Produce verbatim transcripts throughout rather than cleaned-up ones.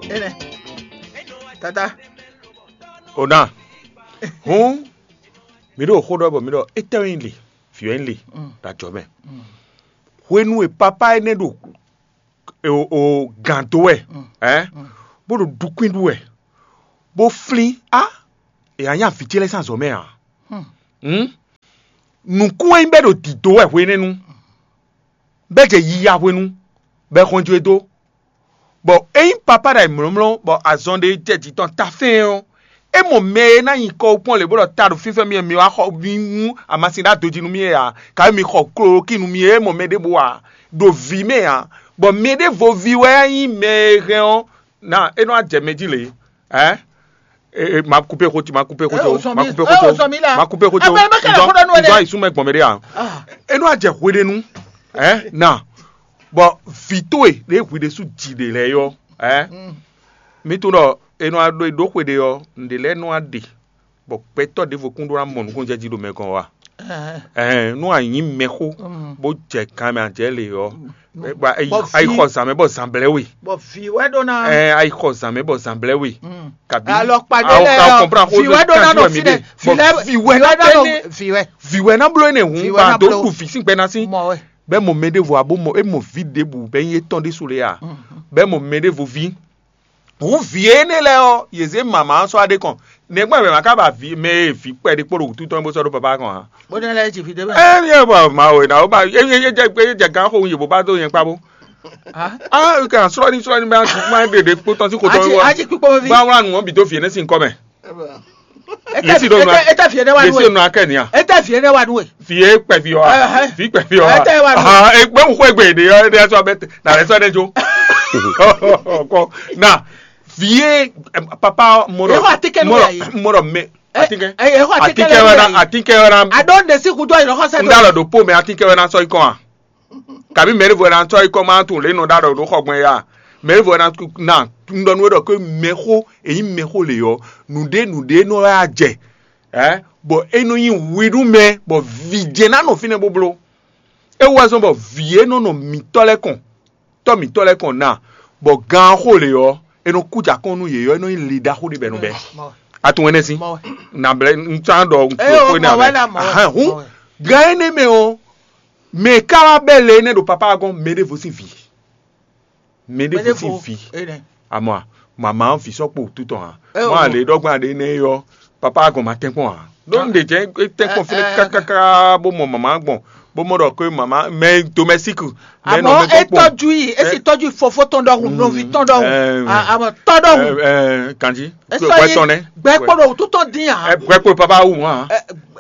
Énɛ́. Tata. Ona. Hǔn, mi ɖo xó ɖɔ bɔ mi ɖɔ étɛ́ wɛ nyí le, vǐ wɛ nyí le, ɖo ajɔ mɛ. Hwenu e papá énɛ́ ɖo o o gǎn dó wɛ, ɛ bó ɖo ɖukwín ɖu wɛ, bó flín á, è nǎ nya vǐ ce lɛ́ɛ sín azɔ̌ mɛ ǎ. Hǔn, nǔkún e nyí bɛ́ ɖo dǐdó wɛ hwenɛ́nu, bɛ́ jɛ yiya hwenu, bɔ è xɔn jó e dó. Bɔ ényí papá ɖo ayǐmlɔ́mlɔ́ bɔ azɔn ɖé jɛ jǐ tɔn ta fɛ́n ɔ́, é mɔ mɛ e ná nyi kɔ kpɔ́n lě bó ɖɔ ta ɖo fínfɛ́n mì wɛ mi wá xɔ mi nú amasin ɖó adojí nú mì é ǎ, kayi mi xɔ klolóki nú mì é, é mɔ mɛ ɖěbǔ ǎ, ɖo vǐ mɛ ǎ, bɔ mɛ ɖěvo ví wɛ nyí mɛ e hɛn ɔ́, ná é nɔ wá jɛ mɛ jí lě. Ɛ? E, e, ma kupé xó ci, ma kupé xó ci, ma kupé xó ci, ma kupé xó ci. Nzɔ ayi súnmọ́ gbɔn mɛ ɖé a? É nɔ wá jɛ hweɖénu. Ɛ? Na. Bɔ vǐ towe ɖě hwi ɖésú ji ɖe lɛ́ɛ yɔ, ɛ? Mi tunwun ɖɔ è nɔ ɖo e ɖó xwe ɖe ɔ́, nǔɖé lɛ́ɛ nɔ wá ɖe, bɔ gbɛtɔ́ ɖěvo kún ɖó ná mɔ nukúnnú jɛ jí ɖo mɛ gɔ́n wa. Ɛɛ, nú a nyǐ mɛxó, bó jɛ kan mɛ a jɛ lě ɔ́, a yi xɔ zǎn mɛ bɔ zǎn blɛ́ we. Bɔ vǐ wɛ ɖó ná. Ɛ, a yi xɔ zǎn mɛ bɔ zǎn blɛ́ we. Kabi alɔkpa ɖé lɛ ɔ, vǐ wɛ ɖó ná nɔ fínɛ. Vǐ wɛ ná bló énɛ́. Vǐ wɛ. Vǐ wɛ ná bló énɛ́ hǔn, bɔ a dó ɖu vǐ sín gbɛ ná sín. Bɛ́ mɔ mɛ ɖěvo abo mɔ é mɔ vǐ ɖěbǔ bɛ́ nyí étɔn ɖésú lé a? Bɛ́ mɔ mɛ ɖěvo ví. Hǔn vǐ énɛ́ lɛ́ɛ ɔ́, yě zé mama ɔ́ sɔ́ aɖé kɔn. Nɛgbɛ́ mɛ ma ka ba vǐ mɛ e vǐ kpɛɖé kpó ɖo wǔtu tɔn bó sɔ́ ɖó papá kɔn ǎ. Bó ná lɛ́ ji vǐ ɖé mɛ. Ɛ ní ɛ bɔ ma o na o ba é é é jɛ gán xo yě bó ba dó nyɛ kpá bó. Ah, kan sɔ́ ní sɔ́ ní bá má ɖe ɖe kpó tɔn sí xotɔ wɔ. Aji kpíkpó mi ví. Bá wá nù ɔ́ bì dó vǐ énɛ́ sín kɔ́ mɛ. Etɛ Yesi ɖo nua. Etɛ etɛ fi ɛnɛ wa nu Yesi ye. Nua kɛ nia. Etɛ fi ɛnɛ wa nu ye. Fi ye kpɛ fi wa. Ɛhɛ. Fi kpɛ fi wa. Etɛ wa nu. Ah, ekpɛ mu xɔ egbe de yɔ de sɔ bɛ na lɛ sɔ ne jo. Kɔ na fi ye papa mɔdɔ. Eho atikɛ nu ya ye. Mɔdɔ mɛ atikɛ. Eho atikɛ nu ya ye. Atikɛ wɛ na atikɛ wɛ na. Ado ne si kudo yi lɔkɔ sɛ. N da lɔ do po mɛ atikɛ wɛ na sɔ ikɔn a. Kabi mɛɖevo ɛ na sɔ́ yi kɔ́ ma tunwun lě e nɔ ɖó aɖɔ ɖó xɔ gbɔn é a? Mɛɖevo ɛ na na un ɖɔ nú we ɖɔ ké mɛxó èyí mɛxó lě ɔ́, nǔɖé nǔɖé nɔ wɛ a jɛ, ɛ bɔ é nɔ nyi hwi nú mɛ bɔ vǐ jɛ́n ná nɔ fínɛ́ bó bló. É wú wɛ zɔ́n bɔ vǐ e nɔ nɔ mǐtɔ́ lɛ́ɛ kɔn, tɔ́ mǐtɔ́ lɛ́ɛ kɔn na, bɔ gan xó lě ɔ́, è nɔ kú jɛ akɔn nú yě ɔ́, é nɔ nyí le ɖaxó ɖé bɔ è nɔ bɛ́. A tunwun énɛ́ sín? Nǎ blɛ́ un sán ɖɔ un kpo xó énɛ́ ǎ mɛ. Hǔn gan énɛ́ mɛ ɔ́, mɛ e ka wá bɛ́ le énɛ́ ɖo papá ɔ́ gɔ́n? Mɛ ɖěvo sín vǐ. Mɛ ɖěvo sín vǐ. Amɔ a, mama ɔ́ vǐ sɔ́ kpo wútu tɔn ǎ. Mɔ a lě ɖɔgbɛ́n aɖé énɛ́ é ɔ́, papá ɔ́ gɔ́n ma tɛ́nkpɔ́n ǎ. Ɖó un ɖe jɛ́n é tɛ́nkpɔ́n fínɛ́ kákáká bó mɔ mama gbɔn, bó mɔ ɖɔ xwé mama mɛ domɛsík mɛ nɔ Àmọ́ mɛ é gbɔn. Tọ́jú yìí, é sì tọ́jú fofó tɔn ɖɔhùn, nɔví tɔn ɖɔhùn. Àmọ́ tɔn ɖɔhùn. Kanji. Esɔ yi gbɛ kpɔɖɔ wútu tɔn dín yà. Gbɛ kpɔɖɔ papa wù wọn.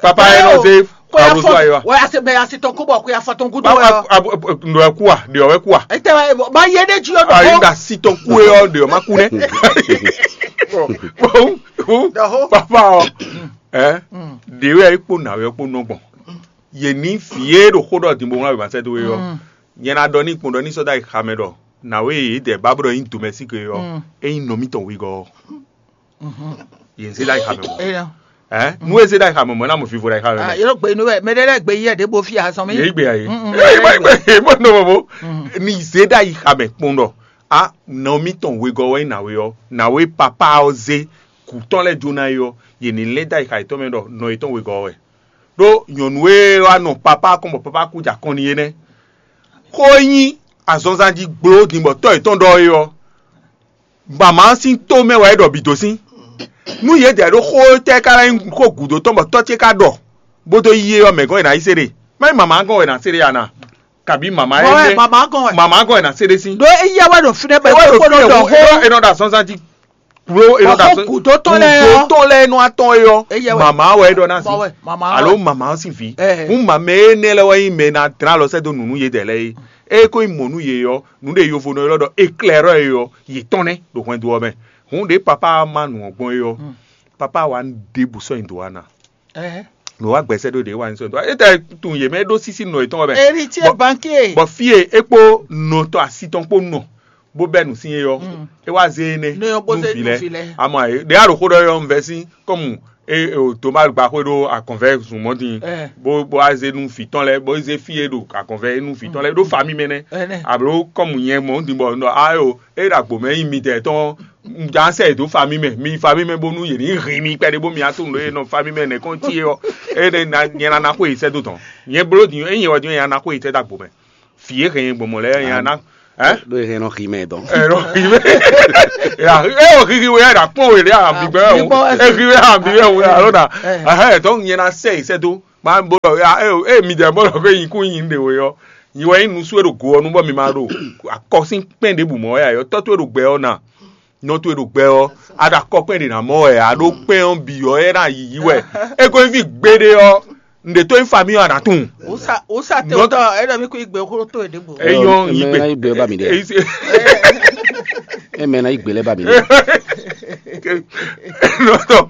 Papa yɛ nɔ ze kó yà fɔ wà á se bɛ asi tɔn kó bɔ kó yà fɔ tɔn gúdú wɛ. Nɔ ɛ kú wa, ɖe ɔ ɛ kú wa. Etɛ wa ma yé ɖe jí ɔ dɔ. Ayi na si tɔn kú yɛ ɔ ɖe ɔ ma kú nɛ. Papa ɔ ɛ ɖe wɛ kpó nà wɛ kpó nɔ gbɔn. Yě ní fi yé ɖo xó ɖɔ dìbò ŋlá wɛ ma sɛ do wɛ ɔ. Nyɛ na ɖɔ ní kpɔn ɖɔ ní sɔ́ dó ayi xamɛ ɖɔ nǎwe e yě dɛ bábɔ́ ɖɔ nyí domɛsík e ɔ́, é nyí nɔ mítɔn wegɔ́ ɔ́. Yě zé ɖó ayi xamɛ mɔ̌. Ɛ nú é zé ɖó ayi xamɛ mɔ̌, é ná mɔ vivo ɖo ayi xamɛ mɛ. Yɔrɔ gbe inú wɛ mɛ ɖé lɛ́ɛ gbe yí ɛ ɖěbǔ fi azɔn mi. Yě gbe ayi. Bó nɔ mɔ bó ní zé ɖó ayi xamɛ kpɔn ɖɔ a nɔ mítɔn wegɔ́ wɛ nyí nǎwe ɔ́, nǎwe papa ɔ́ zé kǔ tɔn lɛ́ɛ jó ná é ɔ́, yě ní lɛ́ dó ayi xa yětɔn mɛ ɖɔ nɔ yětɔn wegɔ́ wɛ. Ɖó nyɔ̌nu e wá nɔ papá kɔn bɔ papá kú jɛ akɔn n'i é nɛ́. Xó e nyí azɔnzan jí gbló din bɔ tɔ́ yětɔn ɖɔ é ɔ́, mama ɔ́ sín tó mɛ wɛ é ɖɔ bǐ dó sín. Nú yě dɛ ɖó xó tɛ́ ká ná nyí xó gǔdo tɔn bɔ tɔ́ ce ká ɖɔ, bó dó yí é ɔ́, mɛ̌ gɔ́n è nǎ yi se ɖe? Má nyí mama ɔ́ gɔ́n wɛ è nǎ se ɖe a nǎ? Kabi mama ɛ Mɔ wɛ nɛ mama gɔn wɛ. Mama gɔn ɛ na se ɖe si. Ɖo eya wɛ ɖo fi ɖe bɛ Ewa ɖo kó fi ɖo ɖɔ ɖɔ xó. Eno ɖo azɔnzan ji. Klo eno ɖo Bɔ xó azɔn. Gǔdo tɔn lɛ ɔ. Gǔdo tɔn lɛ eno atɔn yɔ. Eya wɛ. Mama wɛ ɖɔ na si. Mɔ wɛ mama wɛ. Alo mama si vi. Ɛɛ. Mu mama ene lɛ wɛ yin mɛ na dra lɔ sɛ do nunu ye dɛ lɛ ye. E ko yin mɔ nu ye yɔ. Nu de yovo nɔ yɔ ɖɔ eklɛrɔ ye yɔ. Ye tɔn nɛ ɖo hwɛndo ɔ mɛ. Hun de papa ma nu ɔ gbɔn ye yɔ. Papa wa de bu sɔ yin do wa na. Ɛɛ. Nɔ wa gbɛsɛ ɖo ɖe wa yin sɔ yin do wa. Etɛ tun ye mɛ ɖo sisi nɔ yetɔn wɛ mɛ. Héritier Bɔ- banquier. Bɔ fie ekpo nɔtɔ asi tɔn kpo nɔ bó bɛ nu sin ye yɔ. E wa ze ne Ne yɔ bó nu ze vi nu lɛ. Vi lɛ. Ama ye ɖe alo xo ɖɔ yɔ nvɛ si kɔmu e o to ma gba xwe ɖo akɔnvɛ zun mɔ din. Ɛ. Bó bó a ze nu fi tɔn lɛ bó ze fie ɖo akɔnvɛ nu fi tɔn lɛ ɖo fa mi mɛ nɛ. Ɛnɛ. Alo kɔmu nyɛ mɔ din bɔ nɔ ayo e ɖo agbo mɛ yin mi tɛ tɔn Un jǎn sɛ yě dó famí mɛ, mi famí mɛ bónú yě ní hín mi kpɛɖé bó mi wá tunwun ɖó e nɔ famí mɛ nɛ̌ kɔn cí é ɔ́, é nɛ́ ná nyɛ ná ná xó yě sɛ́ dó tɔn. Nyɛ bló din é nyɛ wɛ din nyɛ ná ná xó yě sɛ́ dó agbo mɛ. Fǐ e hɛn nyɛ gbɔn mɔ̌ lɛ́ɛ nyɛ ná. Ɛ? Ɖó e hɛn nɔ xi mɛ dɔn. Ɛ nɔ xi mɛ. Ya, é o xixi wɛ ɖa kpɔn wɛ ɖe a bi gbɛ o. E xi wɛ a bi wɛ o alo na. Ɛhɛ, tɔn nyɛ ná sɛ yě sɛ́ dó. Ma bó ɖɔ ya, e mi dɛ bó ɖɔ xé nyi kún nyi ɖe we ɔ́. Nyi wɛ nyí nusú e ɖo go ɔ́ nu bɔ mi ma ɖo akɔsín kpɛn ɖěbǔ mɔ wɛ ayɔ tɔ́ towe ɖo gbɛ ɔ́ na. Nɔ towe ɖo gbɛ ɔ́, a ɖo akɔ kpɛn ɖě ná mɔ wɛ, a ɖó kpɛn ɔ́ bǐ ɔ́, é ná yiyi wɛ. É ko nyí fí gbeɖé ɔ́, nǔɖé tó nyí famí ɔ́, a nǎ tunwun. Wǔsa wǔsa te Nɔ- wútɔ é ɖɔ mí kú igbe xó tó é ɖěbǔ. É nyɔ́ yí Mɛ gbe. ná yí gbe ba mi ɖe. É yí se- É mɛ ná yí gbe lɛ ba mi ɖe. Nɔ tɔ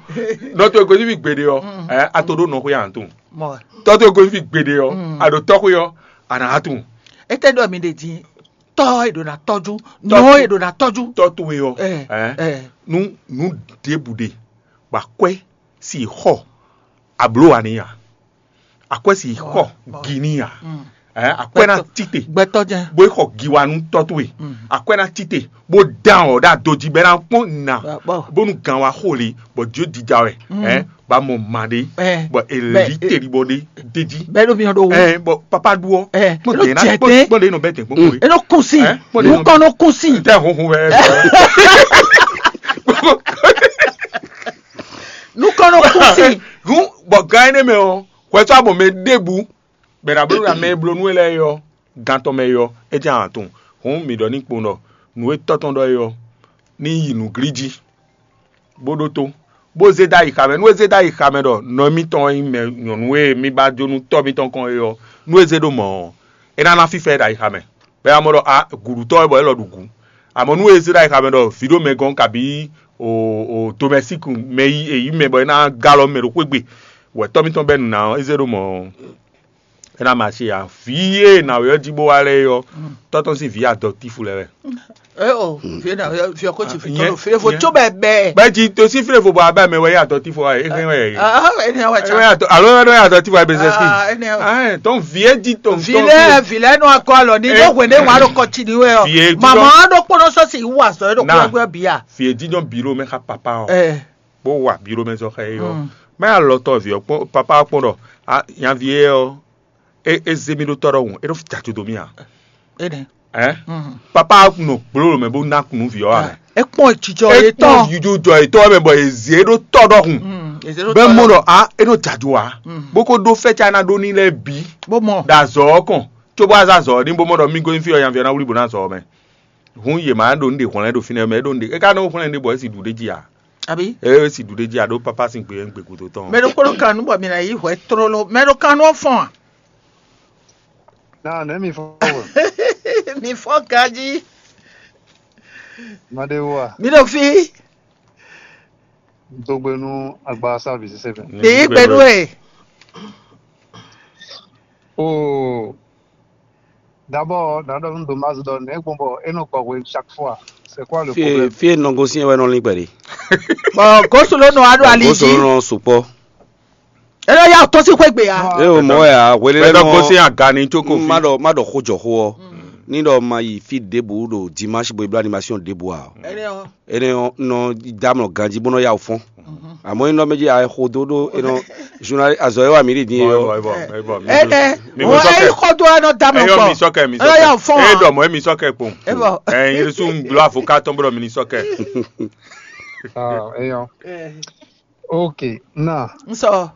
nɔ tɔ ko nyí fí gbeɖé ɔ́, ɛ, a to ɖó nɔ xó ya a nǎ tunwun. Mɔ wɛ. Tɔ to ko nyí fí gbeɖé ɔ́, a ɖo tɔ́ xó ɔ́, a nǎ tunwun. Étɛ́ ɖɔ mi ɖe din tɔ́ e ɖo ná tɔ́jú, Tɔ́ nɔ e ɖo ná tɔ́jú. Tɔ towe ɔ́, Ɛ, ɛ, ɛ. Nu nu ɖěbǔ ɖe, bɔ akwɛ́ si xɔ abló wa ní a, akwɛ́ si xɔ gi ní a, ɛ, akwɛ́ ná tite, Gbɛtɔ́ jɛn. Bó xɔ gi wa nú tɔ towe, akwɛ́ ná tite, bó dán ɔ ɖo adojí bɛ ná kpɔn nà, Bɔ- bónú gan wa xo le, bɔ jǒ dija wɛ, ɛ, ba mɔ ma ɖé, Ɛ. Bɔ èlí Bɛ- teli bɔ ɖé déjí, Bɛ ɖo miɔ ɖo wo. Ɛ, bɔ papa ɖu ɔ, Ɛ, kpɔn Eno dɛ ná jɛ kpɔn tɛ. Kpɔn dɛ nɔ bɛ tɛ kpɔn kowe. Eno kunsi. Ɛ, kpɔn dɛ nɔ Nukɔn no kunsi. Tɛ hunhun wɛ. Nukɔn no kunsi. Hun bɔ gan énɛ́ mɛ ɔ́, hwɛtɔ́ abɔ mɛ ɖěbǔ, bɛ ná bló ná mɛ e bló nú we lɛ́ɛ é ɔ́, gan tɔn mɛ é ɔ́, é jɛ́n a tunwun. Hǔn mǐ ɖɔ ní kpowun ɖɔ nǔ e tɔ́ tɔn ɖɔ é ɔ́, ní yi nǔglí jí, bó ɖótó, bó zé dó ayixa mɛ. Nú é zé dó ayixa mɛ ɖɔ nɔ mitɔn e nyí mɛ nyɔ̌nu e mì ba jó nú tɔ́ mitɔn kɔn é ɔ́, nú é zé ɖó mɔ̌ ɔ́, é ná ná fífá ɛ ɖo ayixa mɛ. Bɔ é ná mɔ ɖɔ a gǔɖutɔ́ wɛ bɔ é lɔ ɖu gǔ. Amɔ̌ nú é zé ɖo ayixa mɛ ɖɔ vǐ ɖo mɛ gɔ́n kabǐ o o domɛsíku mɛ yí e yí mɛ bɔ é ná gá alɔ mɛ ɖo xwé gbe, wɛ tɔ́ mitɔn bɛ́ nǔ ná ɔ́, é zé ɖó mɔ̌ ɔ́, é ná ma se ǎ. Vǐ e è nǎ wɛ ɔ́ jí bó wá lɛ́ɛ é ɔ́, tɔ́ tɔn sín vǐ adɔtífu lɛ́ɛ wɛ. Eo, fie na fie ko ci fi tɔn fie fo tso bɛ bɛ. Bɛ ji to si file fo bɔ abɛ mɛ wɛ ya tɔ ti fo wa e hɛn wɛ yi. Ah, ene wa Ewe cha. Ya tɔ alo wɛ ya tɔ ti fo wa bɛ sɛski. Ah, ene wa. Ah, ton vie di ton. Vile vile no akɔ alɔ ni do hwe ne wa do kɔ ci ni we o. Vie di Mama do kpono so si wa so do Na. Ko gbe bia. Vie di don biro mɛ xa papa o. Eh. Bo wa biro mɛ zɔ xɛ yo. Mm. Mɛ alɔ tɔ vie kpɔn papa kpɔn dɔ. Ah, yan vie o. E e ze mi ɖo tɔ ɖɔhun, e ɖo jajo dó mì a? Énɛ́. Ɛ? Papa nɔ gbló mɛ bó ná kunu vǐ ɔ́ a mɛ? É kpɔn jijɔ E yetɔn. Kpɔn jujɔ jɔ etɔn mɛ bɔ e ze ɖo tɔ ɖɔhun. Bɛ mɔ ɖɔ a e nɔ jajo a. Bó ko ɖó fɛ́ ca ná ɖó ní lɛ́ɛ bǐ. Bó mɔ. Ɖo azɔ ɔ́ kɔn, cóbó azɔ azɔ ɔ́ ní bó mɔ ɖɔ mí gosín fí ɔ́ nyaví ɔ́ ná wlí bó ná azɔ ɔ́ mɛ. Hǔn yě má ɖo ní ɖe hwlɛ́n ɖo fínɛ́ mɛ, é ɖo ní ɖe é ka nɔ hwlɛ́n ɖé bɔ é si ɖu ɖé jí a? Àbí? É si ɖu ɖé jí a ɖó pápá sín gbe ɛ gbe gúdo tɔn. Mɛ ɖokpó ɖo kan nú bɔ mi ná yí hwɛ tlóló. Mɛ ɖo kan nú ɔ́ fɔn a? Náà nɛ̌ mi fɔ́n wɛ? Mi fɔ́n ganjí. Maɖewó a? Mi ɖo fí. Dogbe nú agba sábì sísè mɛ. Ní gbɛnú ẹ̀. Oo. D'abord, nǎ ɖɔ nú Domaz ɖɔ nɛ̌ gbɔn bɔ é nɔ gbɔ hwenu chaque fois. C'est quoi le Fie problème? Fie nɔ gosín wɛ nɔ lín kpɛɖé. Bɔ gosolo nɔ aɖo ali Gosolo jí. Nɔ sukpɔ. Ena ya tɔ sí xwé gbe ya. E o mɔ ya hwele Mɛ lɛ dɔ nɔ gosín agani tsoko fi. Ma ɖɔ ma ɖɔ xó jɔ xó ɔ. Ní ɖɔ ma yi fí ɖěbǔ ɖo dimanche bo yi bló animation ɖěbǔ a. Ene o. Ene ɔ nɔ dá mlɔ ganjí bó nɔ yá wò fɔ́n. Àmọ́ iná méjì àìxodó ɖó iná journal azɔ yɛ wà mí ɖi dín yɔ. Ene. Mi Wọ́n sɔkɛ. Ẹ kọ́ tó ẹ nọ dá mi Ẹ yọ pọ̀. Mi sɔkɛ mi Ẹ yọ sɔkɛ. Fún Ẹ wa. Dɔ mɔ ẹ mi sɔkɛ kpɔn. Ẹ bọ̀. Ẹ yín sún gblo avocat tɔn bọ̀dọ̀ mi ni sɔkɛ. Ah, eyɔn. Ok, na. N sɔ.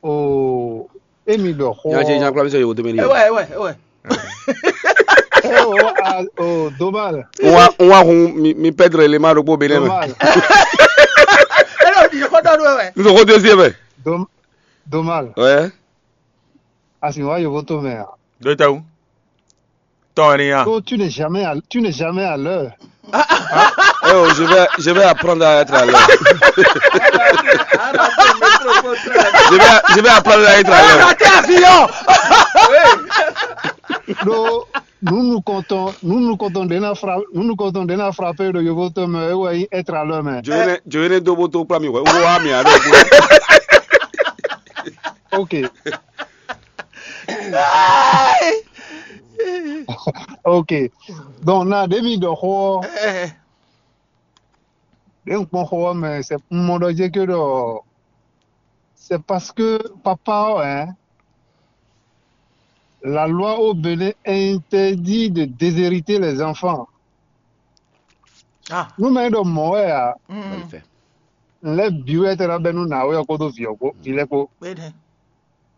O emi ɖɔ xɔ. Nya ce nya kpla mi sɔ yewo tɛmɛ ni. Ewɛ ewɛ ewɛ. O a o domal. N wa n wa hun mi mi pɛdre le ma ɖokpó be nɛ mɛ. Domal. Ẹ lọ di kọ́ dọ́dún ewɛ. N sɔ ko deuxième. Dom domal. Ouais. A sì wá yòókù tó mɛ a? Dókítà wú. Tɔn ni ya. Ko tu n'es jamais à tu n'es jamais à l'heure. Eh oh, je vais, je vais apprendre à être à l'heure. Je vais, je vais apprendre à être à l'heure. Raté avion. Ɖó nunukɔntɔn nunukɔntɔn ɖě ná fra nunukɔntɔn ɖě ná frape ɖo yovótɔn mɛ é wɛ nyí être à l'heure mɛ. Jowéne jowéne dó bó tó kplá mi hwɛ wó wá mi aɖo kú. Ok. Ok. Donc na ɖě mi ɖɔ xó ɔ́. Eh, eh. Ɖě un kpɔn xó ɔ́ mɛ, c'est un mɔ ɖɔ jé ké ɖɔ c'est parce que papa ɔ́, hein, la loi au Bénin interdit de déshériter les enfants. Ah, Nú mɛ ɖɔ mɔ̌ wɛ a, mm, Wali fɛ. n lɛ́ bǐ wɛ tɛ ná bɛ́ nú nǎwe ɔ́ kpódó vǐ ɔ́ kpó, vǐ lɛ́ɛ kpó. kpé ɖɛ.